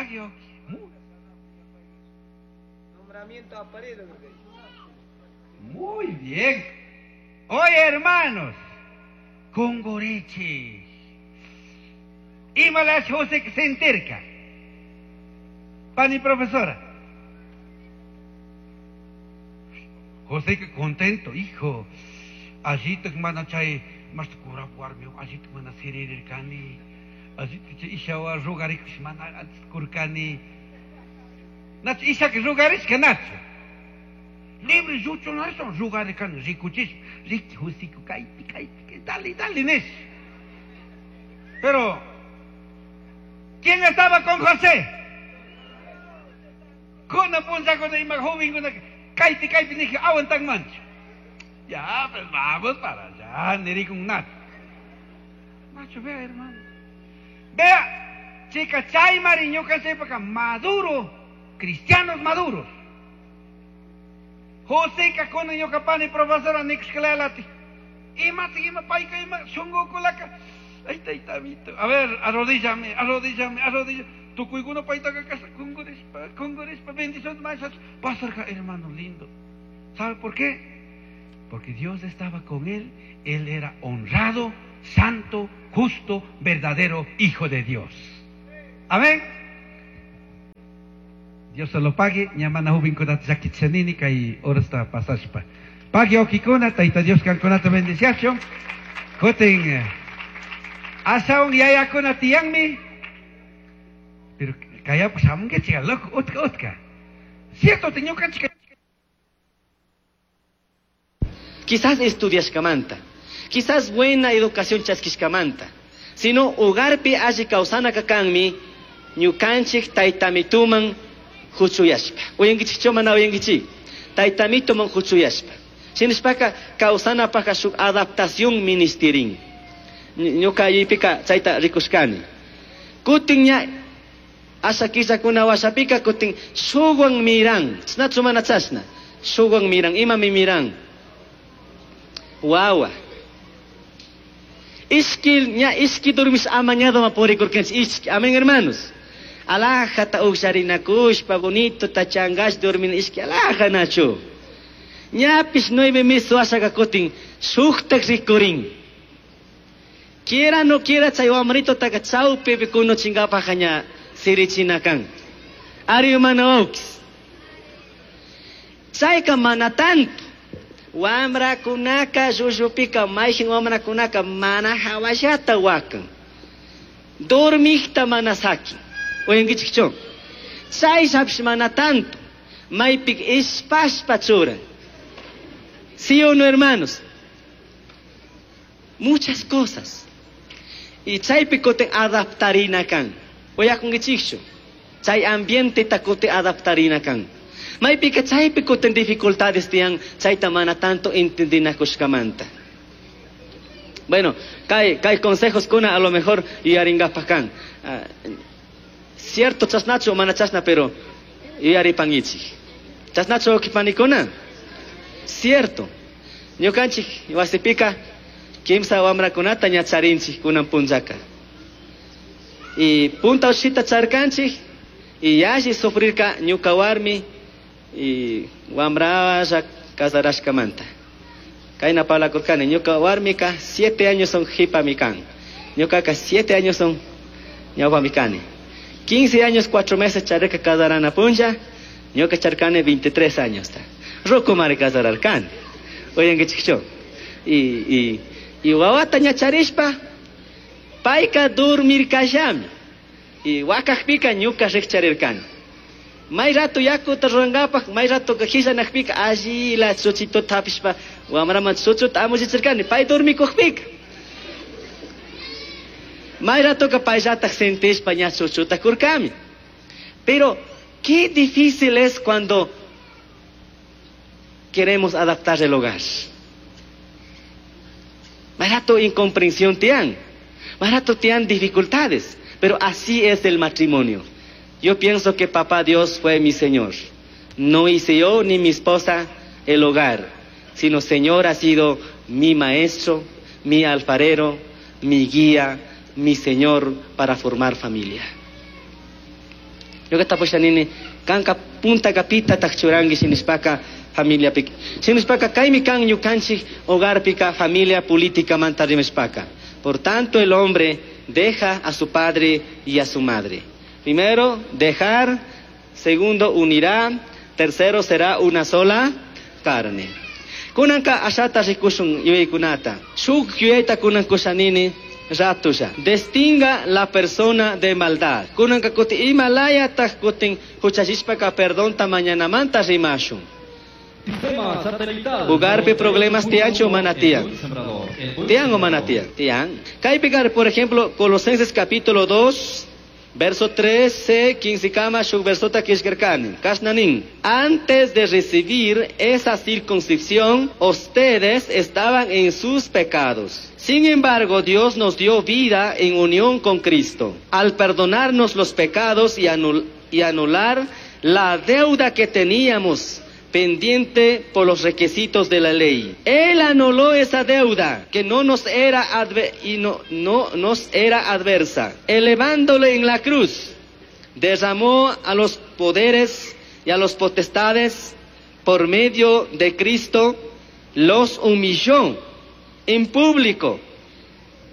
Pagio. Nombramiento a Paredes. Muy bien. Oye, hermanos, Congoreche. Imalash José sentirka. Pani profesora. José que contento, hijo. Allí te mana chay, mas cura warmi, allí te mana sirirkani. Allí te ishawa rugarikush mana antes kurkani. Nach isha que rugarishka nacho. Libre yucho no eso rugarikani rikuchish. Riki husiku kaipi kaipi, dale dale nesh. Pero ¿quién estaba con José? Kuna punza kuna ima joven kuna kaipi kaipi dije aguantan mancho. Ya, pues vamos para allá, nirikun nacho. Nacho, vea, hermano. Vea, chica, chay mariñuca sepa maduro, cristianos maduros. José kakuna ñuka pani profesora nixclalati. Ima ima paika ima shungukulaka. Ay, taitamito. A ver, arrodíllame, arrodíllame, arrodíllame. Tukuykuna paytaqa kasha kungurispa, kungurispa, bendición más. Pasarka, hermano lindo. ¿Sabe por qué? Porque Dios estaba con él. Él era honrado, santo, justo, verdadero hijo de Dios. Amén. Dios se lo pague. Ñamana jubinkunata llakichanini kay orasta pasashpa. Pague okikuna, tayta Dios kankunata bendiciachun. Kutin asawan yayakuna tiyanmi. Pero kaya pues amunque chica loco, utka utka. Cierto, ñukanchik. Quizás estudiashkamanta, quizás buena educación chaskishkamanta, sino hogarpi alli kawsanaka kanmi ñukanchik taytamituman huchuyashpa. Uyankichikchu mana uyankichik? Taytamituman huchuyashpa. Shinashpaka kawsanapaka shuk adaptación ministerin. Ñuka yuypika chayta rikushkani. Kutin ña asha killakuna washapika kutin shuwan miran. Chashnachu mana chashna? Shuwan miran. Imami miran? Wawa. Ishki ña ishki durmish amañado ma purikurkanchik ishki. Amén, hermanos. Alajata uksharinakushpa bonito tachangash dormin ishki alaja nachu. Ñapish 9 meses washaka kutin shuktak rikurin. Quiera no quiera chay wamrito taka chawpipi kunuchinkapajqa ña sirichina kan. Ari mana wawkis. Chayka mana tanto. Wamrakunaka llullupika mayjin wamrakunaka mana hawallata wakan. Dormikta mana sakin. Uyankichikchu? Chayllapish mana tanto. Maypik ishpashpa churan. ¿Sí o no, hermanos? Muchas cosas. Y chaypi kutin adaptarina kan. Uyakunkichikchu? Chay ambiente kutin adaptarina kan. Maypika chaypi kutin dificultades tiyan chayta mana tanto entendinakushkamanta. Bueno, kay, kay consejos kuna a lo mejor yuyaringapaj kan. Cierto chasnachu mana chasna, pero yuyaripangichik. Chasnachu panikuna. Cierto. Ñukanchik wasipika kimsa wamrakunata ña charinchik kunan punllaka. Y punta ushita charkanchik y yalli sufrirka ñuka warmi y wamralla casarashkamanta. Kayna parlakurkani ñuka warmika 7 años son jipami kan. Ñukaka 7 años son ñawpami kani. 15 años 4 meses charika casarana punlla, ñuka charkani 23 años ta. Rukumari casararkani. Uyankichikchu. Y wawata ña charishpa payka dormirkallami. Y wakakpika ñuka rikcharirkani. May rato yakuta rurankapaj, may rato hillanakpika allila chuchituta hapishpa wamraman chuchuta amuchichirkani, pay dormikukpika. May ratoka payllataj sentishpa ña chuchuta kurkami. Pero qué difícil es cuando queremos adaptar el hogar. May rato incomprensión tian, may rato tian dificultades, pero así es el matrimonio. Yo pienso que papá Dios fue mi Señor. No hice yo ni mi esposa el hogar, sino Señor ha sido mi maestro, mi alfarero, mi guía, mi Señor para formar familia. Ñuka tapusha nini, kanka puntaka pitataq churanki shinishpaka familiapi. Shinishpaka kaymi kan ñukanchik hogarpika familia políticamanta rimashpaka. Por tanto, el hombre deja a su padre y a su madre. Primero, dejar. Segundo, unirá. Tercero, será una sola carne. Kunanka ashata rikushun yuyaykunata. Shuk yuyayta kunan kushanini ratusha. Distinga la persona de maldad. Kunanka kuti ima layataq kutin huchachishpaka perdonta mañanamanta rimashun. Sistema satelital. Hogarpi problemas tiyanchu o mana tiyan? El buen sembrador, el buen Tiyan o mana sembrador. tiyan? Tiyan. Kaypi por ejemplo, Colosenses capítulo 2, verso 13, 15 kama, shuk versota kishkerkani. Kashnanin. Antes de recibir esa circuncisión, ustedes estaban en sus pecados. Sin embargo, Dios nos dio vida en unión con Cristo, al perdonarnos los pecados y anular la deuda que teníamos pendiente por los requisitos de la ley. Él anuló esa deuda que no nos era y no nos era adversa, elevándole en la cruz. Derramó a los poderes y a los potestades por medio de Cristo, los humilló en público,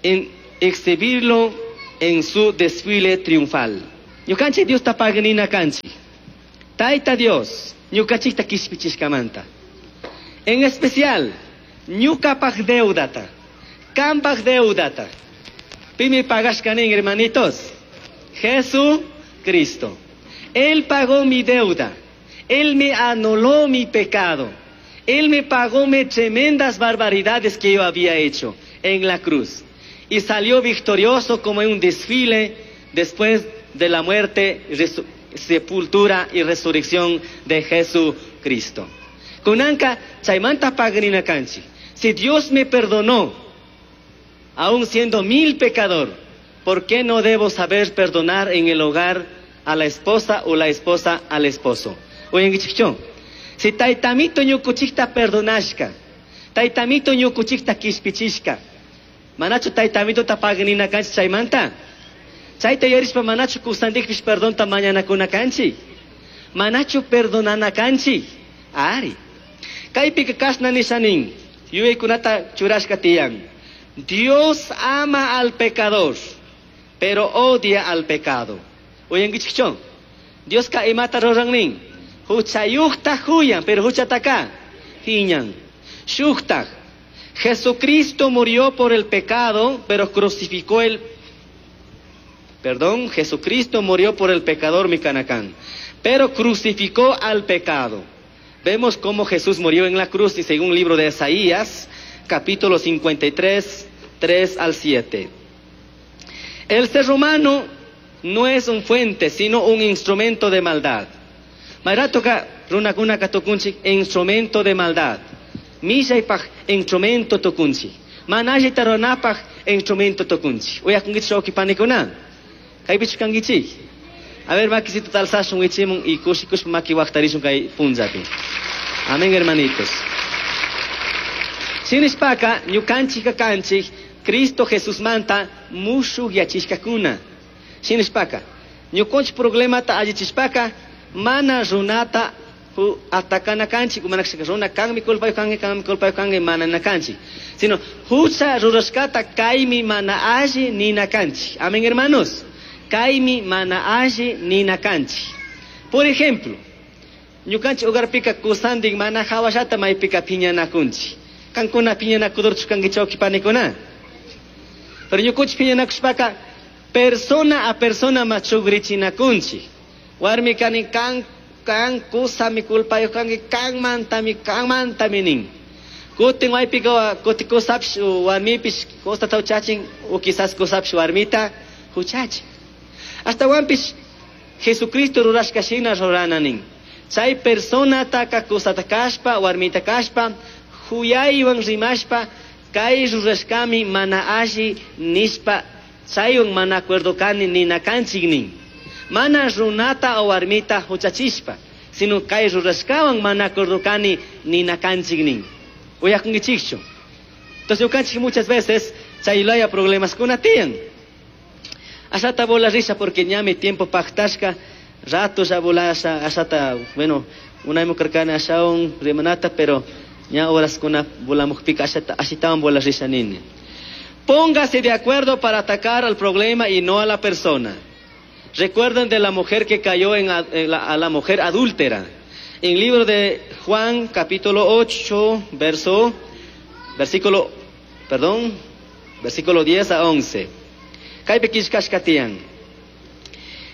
en exhibirlo en su desfile triunfal. Ñukanchik Dios tapagnina kanchik. Taita Dios, ñukachikta kishpichishkamanta. En especial, ñukapaj deudata, kampaj deudata. Pimi pagashkanin, hermanitos. Jesucristo. Él pagó mi deuda. Él me anuló mi pecado. Él me pagó mis tremendas barbaridades que yo había hecho en la cruz. Y salió victorioso como en un desfile después de la muerte, sepultura y resurrección de Jesucristo. Kunanka chaymanta pagrina kanchi. Si Dios me perdonó, aún siendo mil pecador, ¿por qué no debo saber perdonar en el hogar a la esposa o la esposa al esposo? Oyengichikchon. Si taytamito ñukuchikta perdonashka, taytamito ñukuchikta kishpichishka, manachu taytamito tapagnina kanchi chaymanta? Chayta yarishpa manachu kusandikpish perdonta mañanakuna kanchi? Manachu perdonana kanchi? Ari. Kaypika kashna nishanin, yuyaykunata churashka tiyan. Dios ama al pecador, pero odia al pecado. Uyankichikchon. Dioska imata ruran Huchayuqta huyan, pero huchataka hiñan. Shuktaj. Jesucristo murió por el pecado, pero crucificó el... Perdón, Jesucristo murió por el pecador Micanacán, pero crucificó al pecado. Vemos cómo Jesús murió en la cruz y según el libro de Isaías, capítulo 53, 3 al 7. El ser humano no es un fuente, sino un instrumento de maldad. Mayratoka runakuna katukunchik instrumento de maldad. Millaypaj instrumento tukunchik. Manallita runapaj instrumento tukunchik. Uyakunkichik wawqipanikuna. Kaypichu kankichik. A ver, makisito talsashun wichimun y kushikushpa maki waqtarishun kay punllapi. Amén, hermanitos. Shinishpaka ñukanchik kanchik Cristo Jesús manta mushuq yachishkakuna. Shinishpaka ñukunchik problemata allichishpaka mana runata atakana kanchik, mana runa kanmi culpayuq kanki, kanmi culpayuq kanki, mana na kanchik. Sino hucha rurashkata kaymi mana alli nina kanchik. Amén, hermanos. Kaymi mana alli nina kanchik. Por ejemplo, ñukanchik hogarpika kusandik mana hawashata maypika piñanakunchik. Kankuna piñanakudurchu kankichik wawqipanikuna. Pero ñukunchik piñanakushpaka persona a persona machugrichinacunchik. Warmi kani kan kan kusami culpayuq kanki kanmantami nin. Kutin waypika kuti kusapish warmipish kusata huchachin o quizás kusapish warmita huchachin. Ashtawanpish Jesucristo rurashka shina rurana nin. Chay personataka kusata kashpa warmita kashpa huyaywan rimashpa kay rurashkami mana alli nishpa chaywan mana acuerdo kani nina kanchik nin. Mana runata o warmita huchachishpa, sino kay rurashkawan mana acuerdo kani nina kanchik nin. Uyakunkichikchu. Entonces ñukanchik muchas veces chaylaya problemas kuna tiyan. Ashata bola risa porque ñami tiempo pactashka Rato ya volasha ashata, bueno, unaymu karkani ashawan rimanata, pero ña horaskuna volamukpika ashata ashitawan volas risha nini. Póngase de acuerdo para atacar al problema y no a la persona. Recuerden de la mujer que cayó a la mujer adúltera. En el libro de Juan, capítulo 8, versículo 10 a 11. Kaypi killkashkatiyan.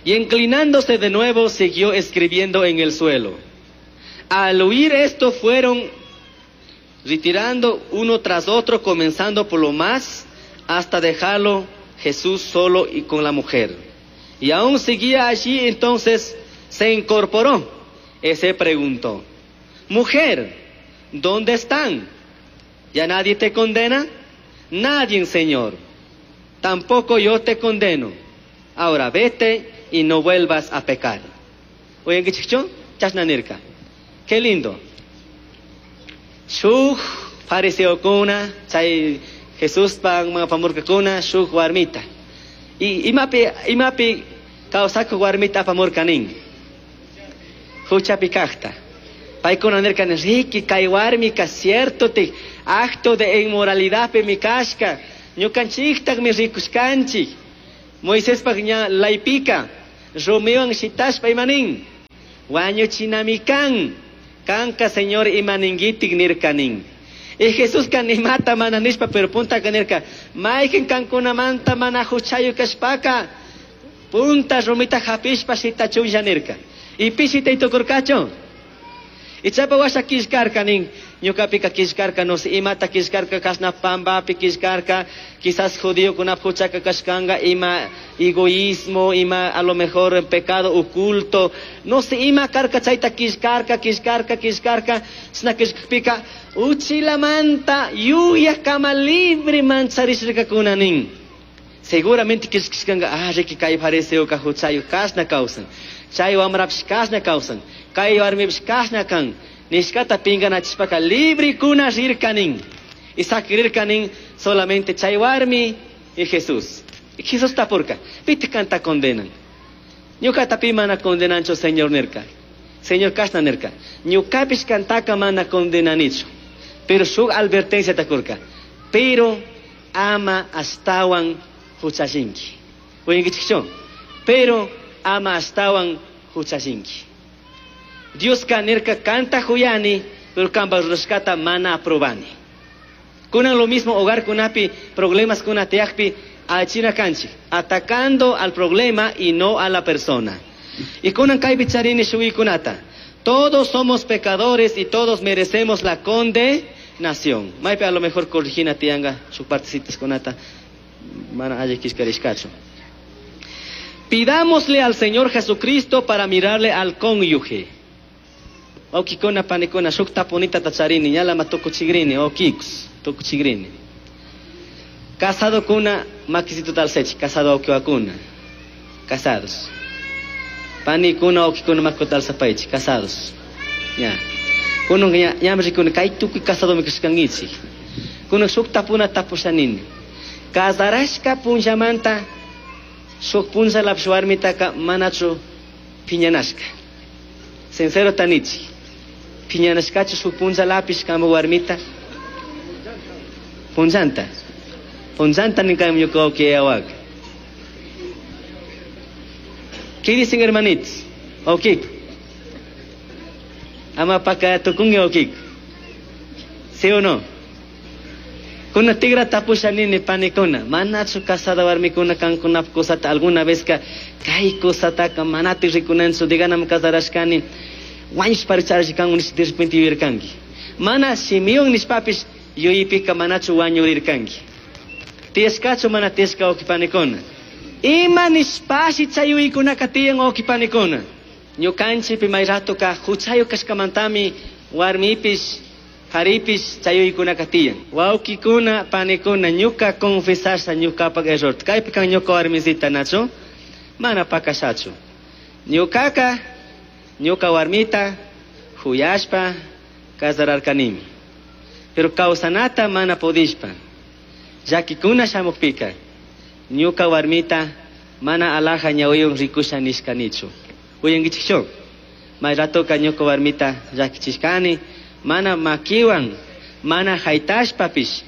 Y inclinándose de nuevo, siguió escribiendo en el suelo. Al oír esto, fueron retirando uno tras otro, comenzando por lo más, hasta dejarlo Jesús solo y con la mujer. Y aún seguía allí, entonces se incorporó. Y se preguntó: mujer, ¿dónde están? ¿Ya nadie te condena? Nadie, Señor. Tampoco yo te condeno. Ahora vete y no vuelvas a pecar. Oye, ¿qué chicho? Chasna nirka. Qué lindo. Shuj fariseokuna, chay Jesús pan mga pamurkakuna, shuj warmita. Y imapi kawsaku warmita pamurkanin. Huchapi kajta. Paykuna nirkan, riki kay warmika cierto te acto de inmoralidad pe mi kashka. Ñukanchiktaq mi rikushkanchik. Moisés pak ña laypika. Rumiwan shitashpa imanin. Wañuchinami kan. Kanka Señor imaningitik nirkanin. Y Jesús kan imata mana nishpa, pero punta kanirka. Mayqin kankunamanta mana huchayu kashpaka. Punta rumita hapishpa shitachunlla nirka. Y pishita itukurkachu. Y chapa washa killkarka nin. Ñuqapika killkarka, no sé, imata killkarka, kashna pambapi killkarka, quizás judío kunap huchaka kashkanga, ima egoísmo, ima a lo mejor pecado oculto, no sé, ima karka chayta killkarka, killkarka, killkarka, chashna killkapika, uchilamanta yuya kama libre mancharishkakuna nin. Seguramente killkashkanga, riki kay fariseo ka huchayu kashna kawsan, chay wamrapish kashna kawsan, kay warmipish kashna kan. Nishkata pinganachishpaka libre kuna rirkanin. Y sakrirkanin solamente chay warmi y Jesús. Y Jesús tapurka. Piti kanta condenan. Ñuka pi mana condenancho Señor nirka. Señor kashna nirka. Ñukapish kantaka mana condenanicho. Pero su advertencia takurka. Pero ama astawan huchashinki. Oyenkichikchon. Pero ama astawan huchashinki. Dios kanirka kanta huyani, pero kamba rurashkata mana aprobani. Kunan lo mismo hogar kunapi, problemas kunatiakpi, achina kanchi, atacando al problema y no a la persona. Y kunan kaypi charini shuy kunata. Todos somos pecadores y todos merecemos la condenación. Maypi a lo mejor corrigina tianga, su partecitas kunata, mana ayikishkarishkacho. Pidámosle al Señor Jesucristo para mirarle al cónyuge. Okikona panikona shuk tapunita tacharini, ñala matukuchigrini, okikus, tukuchigrini. Casado kuna makisito talsech, casado okiwakuna. Casados. Panikuna okikuna makutalsapaichi, casados. Ya. Kuno ña ñamrikuna kay tukuy casado mikishkangichi. Kuno shuk tapuna tapushanini. Casarashka punllamanta shuk punlla lapsh warmitaka manachu piñanashka. Sincero tanichi. Piñanashkachu shuk punlla lapish kama warmita. Punllanta. Punllanta ninkam ñuka awak. ¿Qué dicen hermanitos? Okik. Ama paka tukungi okik. ¿Sí o no? Kuna tigra tapusha nini panikuna. Manachu casada warmikuna kankuna kusata alguna vez ka kay kusataka manati rikunanchu diganam casarashkani. Wañush paricharashkan unish de repente yuyirkanki. Mana shimiwan nishpapish yuyipika manachu wañurirkanki. Tiyashkachu mana tiyashka okipanikuna. Ima nishpashi chay yuykunaka tiyan okipanikuna. Ñukanchikpi may ratoka huchayu kashkamantami warmipish haripish chay yuykunaka tiyan. Wawkikuna panikuna ñuka confesasha ñukapak error. Kaypi kan ñuka warmisita nachu mana pakashachu. Ñukaka ñuka warmita huyashpa casararkanimi. Pero kawsanata mana pudishpa. Llakikuna shamukpika ñuka warmita mana alaja ñawiyun rikusha nishkanichu. Uyankichikchu? May ratoka ñuka warmita llakichishkani, mana makiwan, mana haytashpapish,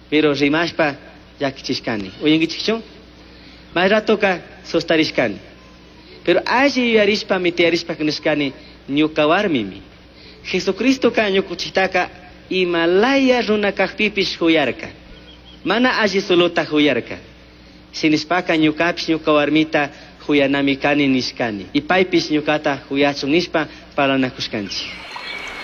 pero rimashpa llakichishkani. Uyankichikchu? May ratoka sustarishkani. Pero alli yuyarishpami tiyarishpa nishkani ñuka warmimi. Jesucristoka ñukuchiktaka imalaya runa kajpipish huyarka. Mana alli suluta huyarka. Shinishpaka ñukapish ñuka warmita huyanami kani nishkani. Y paypish ñukata huyachun nishpa parlanakushkanchik.